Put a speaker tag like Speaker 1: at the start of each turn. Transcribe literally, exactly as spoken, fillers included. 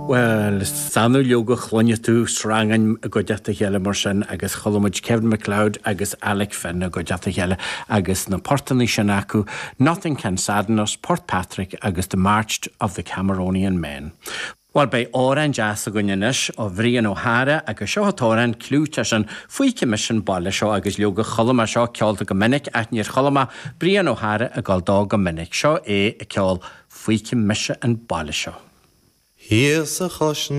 Speaker 1: Well, is annamh leoga a chluineann tú srangáin i gcuideachta a chéile mar sin agus chuala muid Kevin MacLeod agus Alec Finn i gcuideachta a chéile agus na portanna sin acu, Nothing Can Sadden Us, Portpatrick agus The March of the Cameronian Men. Well beidh amhrán deas againn anois ó Bhrian Ó hEára agus seo an t-amhrán clúiteach sin Feicfidh Mise an Baile Seo agus leoga chuala mé seo ceolta go minic ach níor chuala mé Brian Ó hEára ag gabháil dó go minic seo é ag ceol Feicfidh Mise an Baile Seo.
Speaker 2: Thíos a chois